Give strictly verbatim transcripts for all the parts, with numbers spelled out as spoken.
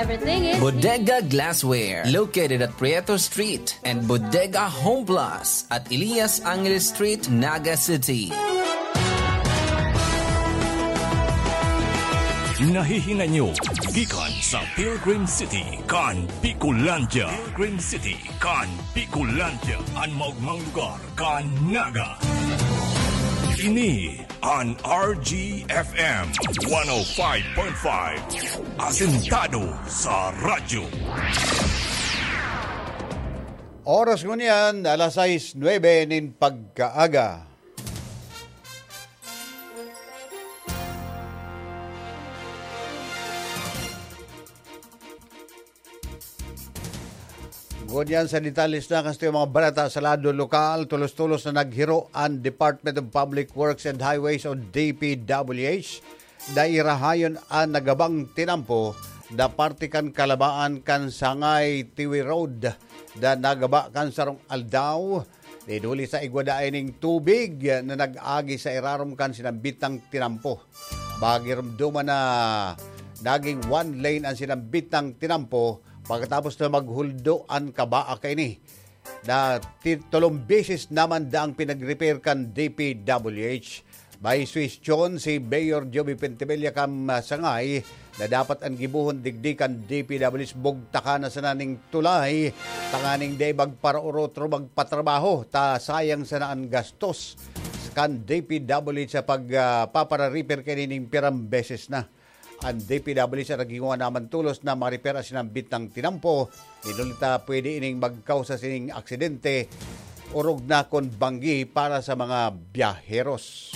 Bodega Glassware, located at Prieto Street, and Bodega Home Plus at Elias Angeles Street, Naga City. Nahihingan nyo gikan sa Pilgrim City kan Bicolandia. Pilgrim City kan Bicolandia, an maogmang lugar kan Naga. Ini an R G F M one oh five point five, asentado sa radyo. Oras ngunyan, alas sais nuebe nin pagkaaga. Ngunyan sa detalles na kan satuyang mga balita sa lado lokal, tolos-tolos na naghiro an Department of Public Works and Highways o D P W H na irahayon an nagabang tinampo na parte kan kalabaan kan Sangay Tiwi Road na nagaba kan sarong aldaw. Dinuli sa igwa daay ning tubig na nag-agi sa irarom kan sinambitang tinampo. Magirumduman na naging one lane an sinambitang tinampo pagkatapos na maghuldo an kabaa kaini. Na ti-, tolong beses naman daang pinag-repair kan D P W H. May suhestyon si Mayor Joby Pentebella kan, ah, Sangay na dapat an gibohon digdi kan D P W H bugtakan na sana ning tulay tanganing dai magparaorot o magpatrabaho ta sayang sana an gastos kan D P W H sa pag, ah, papara-repair kaini ning pirang beses na. An D P W H naghingowa naman tolos na ma-repair an sinambit na tinampo. Dinuli ta pwede ining magkausa sining aksidente, orog na kun banggi para sa mga biyaheros.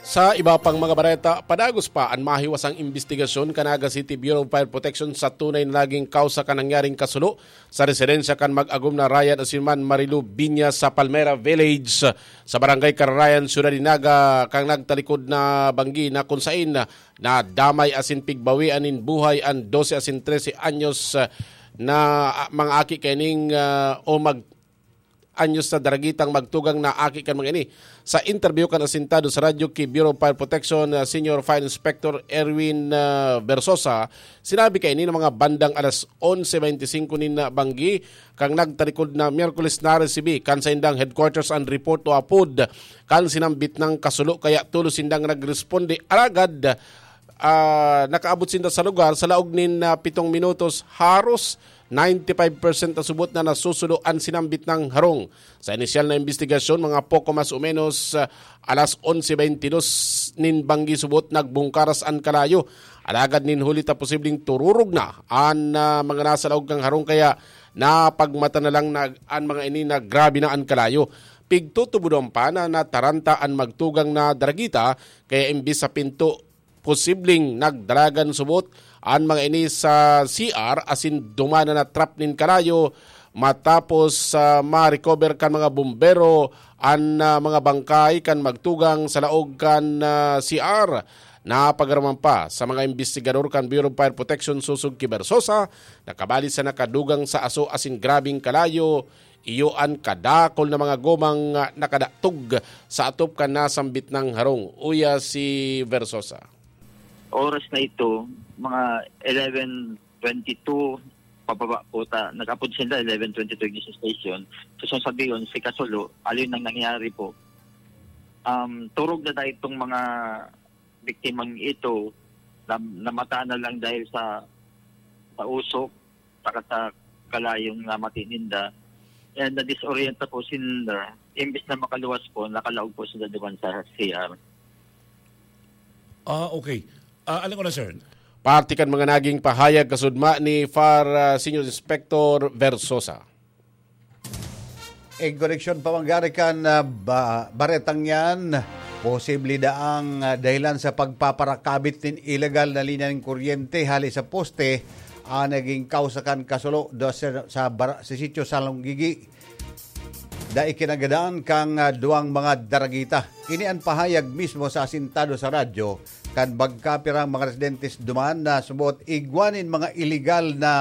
Sa iba pang mga bareta, padagos pa an mahiwasang imbestigasyon kan Naga City Bureau of Fire Protection sa tunay na naging kausa kan nangyaring kasulo sa residensya kan mag-agom na Ryan asin man Marilu Binya sa Palmera Village, sa Barangay Kararayan, Syudad de Naga, kan nagtalikod na banggi na kun sain nadamay asin pigbawian nin buhay an dose asin trese anyos, ah, na, ah, mga aki kaining, ah, o mag-, anyos na daragitang magtugang na aki kan mga ini. Sa interview kan asintado sa radyo ki Bureau of Fire Protection, ah, Senior Fire Inspector Erwin, ah, Versosa, sinabi kaini na mga bandang alas onse bente singko nin, ah, banggi, kan nagtalikod na Miyerkules, naresibi kan saindang headquarters an report o apod kan sinambit na kasulo, kaya tolos sindang nagresponde. Alagad, ah, nakaabot sinda sa lugar sa laog nin, ah, pitong minutos, haros ninety-five percent na subot na nasusulo an sinambit na harong. Sa inisyal na imbestigasyon, mga poko mas o menos, ah, alas onse bente dos nin banggi subot nagbungkaras an kalayo. Alagad nin huli ta posibleng tururog na an, ah, mga nasa laog kan harong, kaya napagmata na lang na an mga ini na grabe na an kalayo. Pigtutubodon pa na nataranta an magtugang na daragita, kaya imbis sa pinto, posibleng nagdalagan subot an mga ini sa C R asin duman na na-trap nin kalayo. Matapos, ah, ma-recover kan mga bombero an, ah, mga bangkay kan magtugang sa laog kan, ah, C R, napagaraman pa sa mga imbestigador kan Bureau of Fire Protection sosog ki Versosa, nakabali sa nakadugang sa aso asin grabeng kalayo, iyo an kadakol na mga gomang, ah, nakadatog sa atop kan nasambit na harong. Uya si Versosa. Oras na ito, mga eleven twenty-two, pababa po ta. Nag-apod sila, eleven twenty-two ignition station. So, so sabihin, si Kasulo, alin ang nangyari po? Um, turog na dahil itong mga biktimang ito, na, namata na lang dahil sa, sa usok, saka sa kalayong namati ninda. And na-disorienta po sila. Imbis na makaluwas po, nakalaog po sila duman sa C R. Ah, okay. Ah, alam ko na, sir. Parte kan mga naging pahayag kasudma ni Far, ah, Senior Inspector Versosa. In koneksyon pa manggari kan, ah, ba-, baretang yan, posible daang, ah, dahilan sa pagpaparakabit nin ilegal na linya nin kuryente hali sa poste, ang naging kausa kan kasulo do sa, sa bar-, sa sitio Salonggigi. Dai kinagadan kan, ah, duwang mga daragita. Ini an pahayag mismo sa asintado sa radyo kan magkapirang mga residentes duman na subot igwa nin mga iligal na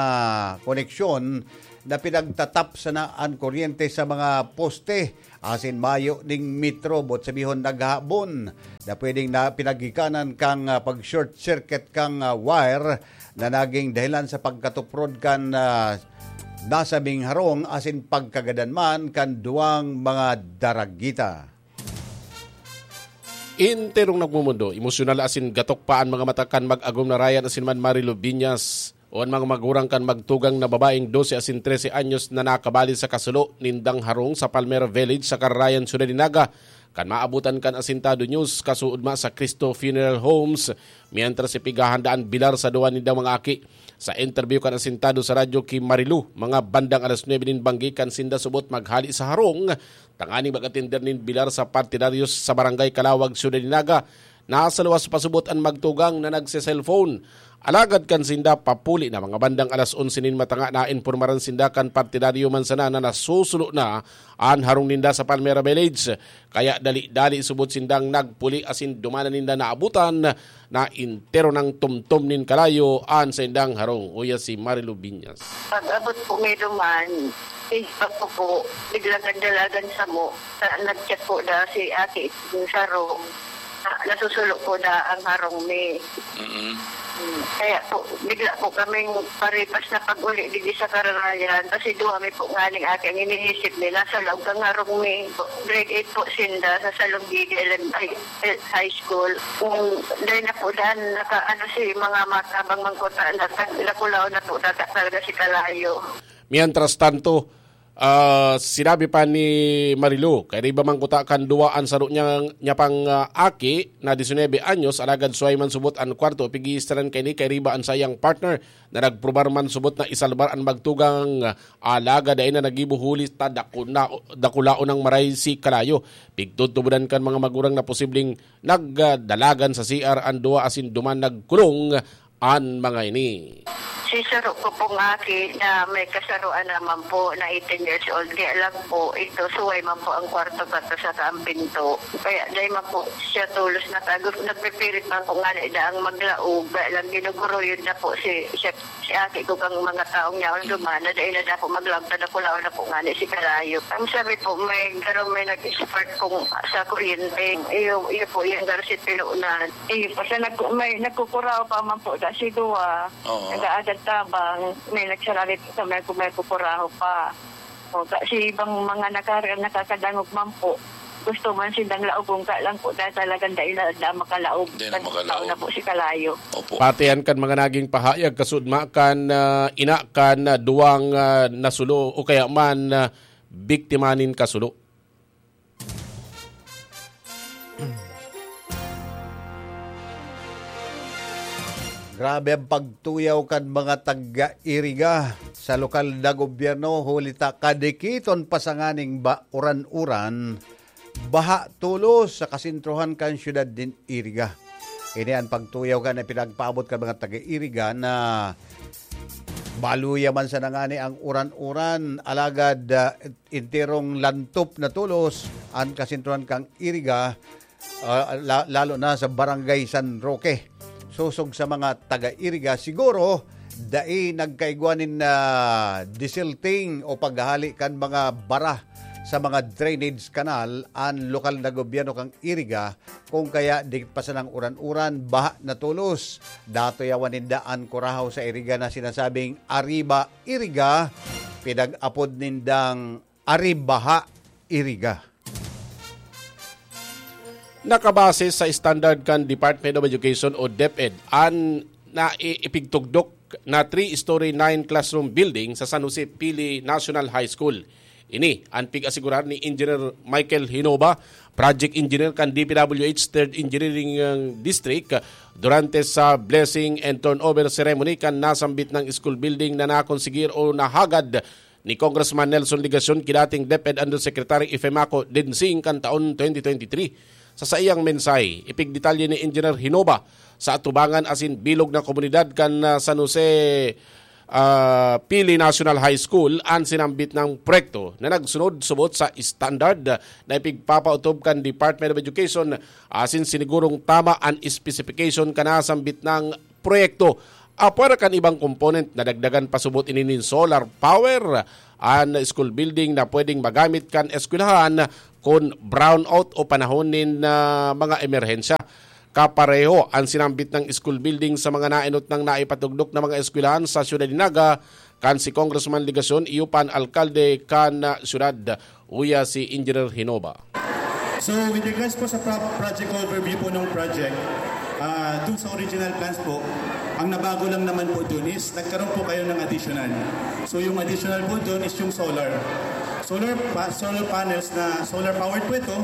koneksyon na pinagtatap sana an kuryente sa mga poste asin mayo ning metro, boot sabihon, naghahabon na pwedeng na pinagikanan kan, ah, pag-short circuit kan, ah, wire na naging dahilan sa pagkatuprod kan, ah, nasabing harong asin pagkagadan man kan duwang mga daragita. Enterong nagmumundo, emosyonal asin gatok pa an mga mata kan mag-agom na Ryan asin man Marilu Biñas o an mga magurang kan magtugang na babaeng dose asin trese anyos na nakabali sa kasulo nindang harong sa Palmera Village sa Carayan, Ciudad de Naga, kan maabutan kan Asintado News, kasuodma sa Cristo Funeral Homes, mientras ipighahandaan bilar sa duwa nindang mga aki. Sa interview kan Asintado sa radyo ki Marilu, mga bandang alas nuebe nin banggi kan sinda subot maghali sa harong, tanganing mag-atender nin bilar sa partidaryos sa Barangay Calawag, Ciudad de Naga, nasa luwas pasubot an magtugang na nagse-cellphone. Alagad kan sinda papuli na mga bandang alas onse nin matanga, nainpormaran sinda kan partidaryo man sana na nasusulo na an harong ninda sa Palmera Village. Kaya dali-dali subot sindang nagpuli asin duman na ninda naabutan na entero nang tumtom nin kalayo an saindang harong. Uya si Marilu Biñas. Pag-abot po may duman, Facebook ko po, biglang nagdalagan sa mo. Sa, nag-chat po da si ate yung saro. Na, nasusulo po da ang harong mi. Mm. Hmm, kaya po, bigla po kaming paripas na pag-uli digdi sa Kararayan. Kasi duwa mi po nganing ate ang iniisip nila sa laog kang harong mi. Grade eight po sinda sa Salonggigi Elem-, ay, eh, High School. Kung dahil na po daan, naka, ano, si mga matabang mangkuta, naka, nakulaw na po data talaga si Kalayo. Mientras tanto, ah, sinabi pa ni Marilu, kairiba man kuta kan duwa an saro niyang, niya pang, ah, aki na disinebe anyos, alagad suway man subot an kwarto, pigiistaran kaini kairiba an sayang partner na nagprobar man subot na isalbar an magtugang, ah, alagad dai na nagibo huli ta dakuna-, dakulaon nang maray si Kalayo. Pigtutubodan kan mga magurang na posibleng nagdalagan sa C R an duwa asin duman nagkulong an mga ini. Si saro ko pong aki na may kasaroan naman po na eighteen years old, kaya lang po, ito, suway man po ang kwarto pa to saka ang pinto. Kaya dahil man po siya tulos na tago, nagpipirit man po nga na idaang maglaog, kaya lang ginuguruyon na po si, siya, si aki ko kang mga taong niya, ang dumana, dahil na dapat maglaog, tadakulaw na po nga ni si Kalayo. Ang sabi po, may garo may nag-spark kung sa kuryente, iyo, iyo po yung garo si Pinunan. Iyo po siya, nag-, may nagkukuraw pa man po, da si Dua. Oo. Nag-aagad tabang, may nagsaralit sa may, may kukuraho pa. O, kasi ibang mga nakar-, nakakadangog man po, gusto man silang laogon, ka lang po, dahil talagang dai na, da makalaog. Dai na makalaog. Tao na po si Kalayo. Opo. Patian kan mga naging pahayag kasudma kan, ah, ina kan, ah, duwang, ah, nasulo o kaya man, ah, biktima nin kasulo. Grabe ang pagtuyaw kan mga taga-Iriga sa lokal na gobyerno, huli ta kadikiton pa sa nganing ba-, uran-uran, baha tolos sa kasentrohan kan syudad nin Iriga. Ini ang pagtuyaw kan na pinagpaabot kan mga taga-Iriga na baluya man sana ngani ang uran-uran, alagad, ah, enterong lantop na tolos an kasentrohan kan Iriga, ah, la-, lalo na sa Barangay San Roque. Sosog sa mga taga-Iriga, siguro dai nagkaigwa nin, ah, desilting o paghahali kan mga bara sa mga drainage canal an lokal na gobyerno kan Iriga, kung kaya dikit pa sanang uran-uran, baha na tolos. Datoyawan ninda an kurahaw sa Iriga na sinasabing Arriba Iriga, pinag-apod nindang Aribaha Iriga. Nakabase sa standard kan Department of Education o DepEd, an na i-, ipigtugdok na three-story, nine-classroom building sa San Jose Pili National High School. Ini an pig-asigurar ni Engineer Michael Hinoba, project engineer kan D P W H Third Engineering, uh, District, durante sa blessing and turnover ceremony kan nasambit na school building na nakonsigir o nahagad ni Congressman Nelson Legacion ki dating DepEd Undersecretary Ifemaco Densing kan taon twenty twenty-three. Sa saiyang mensahe, ipigdetalye ni Engineer Hinoba sa atubangan asin bilog na komunidad kan, ah, San Jose, ah, Pili National High School an sinambit na proyekto na nagsunod subot sa standard na ipigpapautob kan Department of Education asin sinigurong tama an specification kan nasambit na proyekto. Apwera kan ibang component, nadagdagan pasubot ini nin solar power an school building na pwedeng magamit kan eskwelahan kun brownout o panahon nin, ah, mga emerhensya. Kapareho an sinambit ng school building sa mga naenot nang naipatugdok na mga eskwelahan sa Siyudad ni Naga kan si Congressman Legacion, iyo pa an alkalde kan, ah, siyudad. Uya si Engineer Hinoba. So, with regards po sa pro-, project overview po ng project, ah, dun sa original plans po, ang nabago lang naman po dun is nagkaroon po kayo ng additional. So, yung additional po dun is yung solar. Solar pa-, solar panels na solar powered po ito.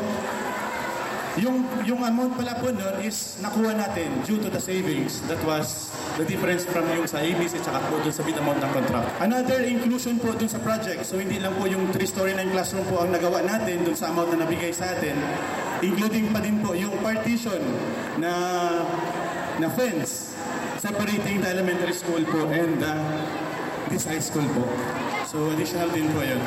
Yung, yung amount pala po nun is nakuha natin due to the savings that was the difference from yung sa A B C tsaka po dun sa bid amount ng contract. Another inclusion po dun sa project. So, hindi lang po yung three-story na yung classroom po ang nagawa natin dun sa amount na nabigay sa atin, including pa din po yung partition na, na fence separating the elementary school po and, uh, this high school po. So, additional din po yun.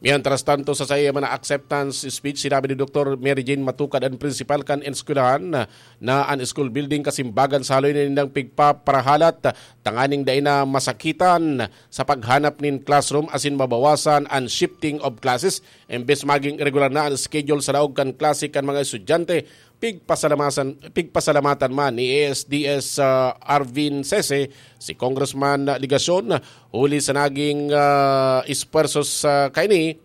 Mientras tanto, sa saiyang mga acceptance speech, sinabi ni Doktor Mary Jane Matukad, ang principal kan eskwelahan, na an school building kasimbagan sa haloy na nindang pigpaparahalat, tanganing dai na masakitan sa paghanap nin classroom asin mabawasan an shifting of classes. Imbes maging regular na an schedule sa laog kan klase kan mga estudyante, pigpasalamasan, pigpasalamatan man ni A S D S, ah, Arvin Sese si Congressman Legacion huli sa naging, ah, espuwerso sa kaini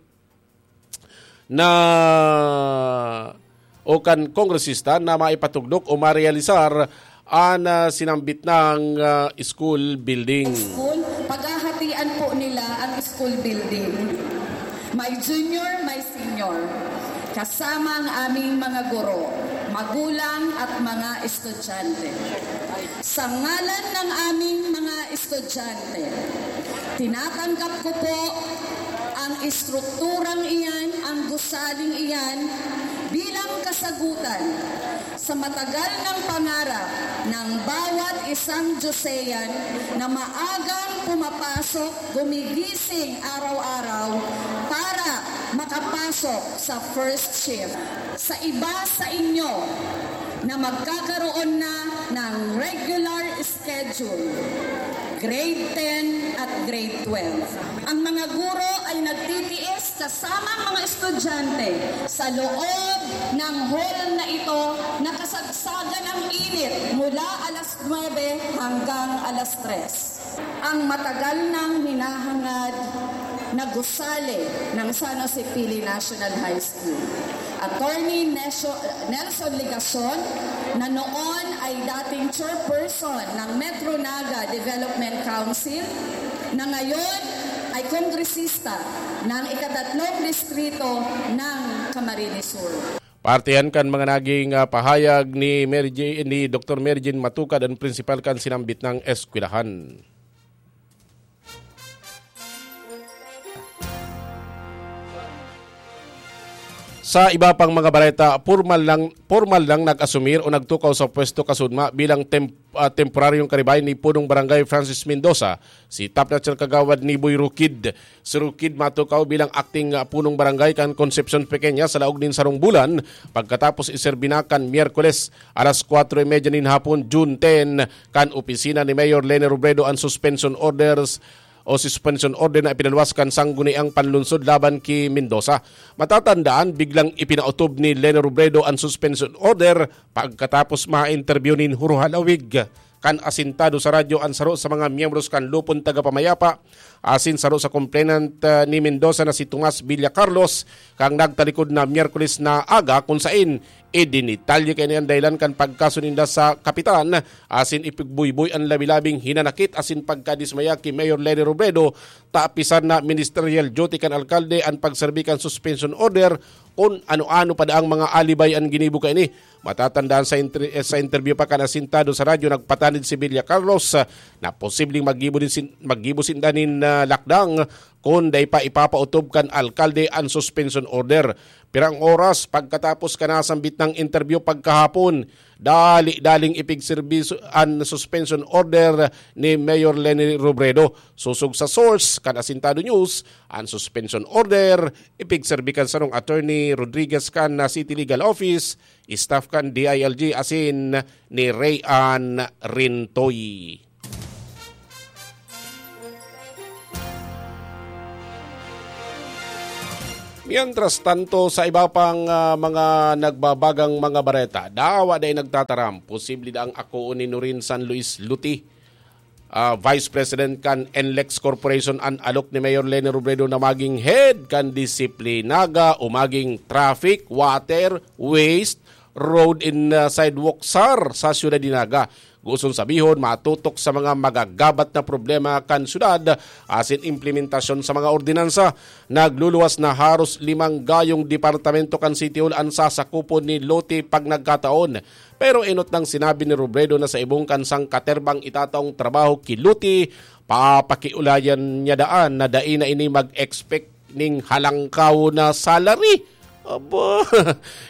na o kan kongresista na maipatugdok o marealisar an, ah, sinambit nang, ah, school building. School, paghahatian po nila ang school building. May junior, may senior. Kasama ang aming mga guro, magulang at mga estudyante. Sa ngalan ng aming mga estudyante, tinatanggap ko po ang estrukturang iyan, ang gusaling iyan, bilang kasagutan sa matagal ng pangarap ng bawat isang Diyosean na maagang pumapasok, gumigising araw-araw para makapasok sa first shift. Sa iba sa inyo na magkakaroon na ng regular schedule, grade ten at grade twelve, ang mga guro ay nagtitiis kasama ang mga estudyante sa loob ng hall na ito na kasagsagan ng init mula alas nuebe hanggang alas tres. Ang matagal nang hinahangad na gusali ng San Jose Pili National High School. Attorney Nesho-, Nelson Legacion, na noon ay dating chairperson ng Metro Naga Development Council, na ngayon ay kongresista ng ikatatlong distrito ng Camarines Sur. Partihan kan mga naging, ah, pahayag ni Mary Jane, ni Doktor Mary Jane Matukad, ang prinsipal kan sinambit nang eskwelahan. Sa iba pang mga bareta, pormal lang, pormal lang nag-asumir o nagtukaw sa pwesto kasudma bilang temp-, ah, temporaryong karibay ni Punong Barangay Francis Mendoza, si Top Notcher Kagawad Niboy Rukid. Si Rukid matukaw bilang acting, ah, Punong Barangay kan Concepcion Pequeña sa laog nin sarong bulan, pagkatapos iserbi na kan Miyerkules, alas kwatro y medya nin hapon, June ten, kan opisina ni Mayor Leni Robredo an suspension orders o suspension order na ipinaluwas kan Sangguniang Panlunsod laban ki Mendoza. Matatandaan, biglang ipinautob ni Leni Robredo an suspension order pagkatapos ma-interview nin Huro Halawig. Kan asintado sa radyo an saro sa mga miyembros kan Lupon Tagapamayapa asin saro sa complainant, ah, ni Mendoza na si Tomas Villa Carlos, kan nagtalikod na Miyerkules na aga, kun sain idinitalye kaini an dahilan kan pagkaso ninda sa kapitan asin ipigbuyboy an labi-labing hinanakit asin pagkadismaya ki Mayor Leni Robredo, ta apisar na ministerial duty kan alkalde an pagserbi kan suspension order, kun ano-ano pa daang mga alibay an ginibo kaini. Matatandaan sa inter-, eh, sa interview pa kan asintado sa radyo, nagpatanid si Villa Carlos, ah, na posibleng maggibo din sin-, maggibo sinda nin, ah, lakdang kun dai pa ipapautob kan alkalde an suspension order. Pirang oras pagkatapos kan nasambit nang interview pagkahapon, dali-daling ipigserbi su-, an suspension order ni Mayor Leni Robredo. Sosog sa source kan Asintado News, an suspension order ipigserbi kan sarong attorney Rodriguez kan City Legal Office, staff kan D I L G asin ni Ray Ann Rintoy. Mientras tanto, sa iba pang, ah, mga nagbabagang mga bareta, dawa dai nagtataram, posible daang akoon ni Norin San Luis Luti, ah, Vice President kan N L E X Corporation, an alok ni Mayor Leni Robredo na maging head kan disiplinaga o maging traffic, water, waste, road and, ah, sidewalk sar sa siyudad ni Naga. Gusto sabihon, matutok sa mga magagabat na problema kan syudad asin implementasyon sa mga ordinansa. Nagluluwas na haros limang gayong departamento kan City Hall an sasakupon ni Loti pag nagkataon. Pero enot nang sinabi ni Robredo na sa ibong kan sangkaterbang itataong trabaho ki Loti, papakiulayan niya daan na dai na ini mag-expect ning halangkaw na salary. Aba,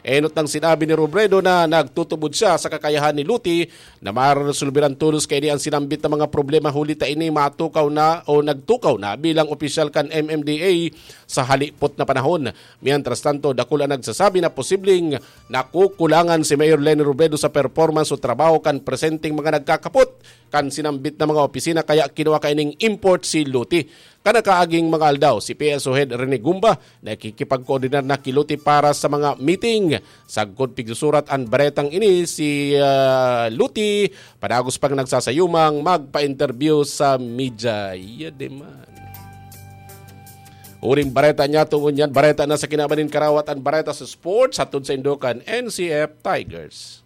enot nang sinabi ni Robredo na nagtutubod siya sa kakayahan ni Luti na maresolber an tolos kaini an sinambit na mga problema huli ta ini matukaw na o nagtukaw na bilang opisyal kan M M D A sa halipot na panahon. Mientras tanto, dakul an nagsasabi na posibleng nakukulangan si Mayor Leni Robredo sa performance o trabaho kan presenteng mga nagkakapot kan sinambit na mga opisina kaya kinua kaining import si Luti. Kan nakaaging mga aldaw, si P S O Head Rene Gumba nakikipagkoordinar na ki Luti para sa mga meeting. Sagkod pigsusurat an baretang ini, si, ah, Luti padagos pang nagsasayumang magpa-interview sa media. Iya di man. Uring bareta niya, tungon yan, bareta na sa kinaban nin karawat an bareta sa sports, hatod sa Indokan N C F Tigers.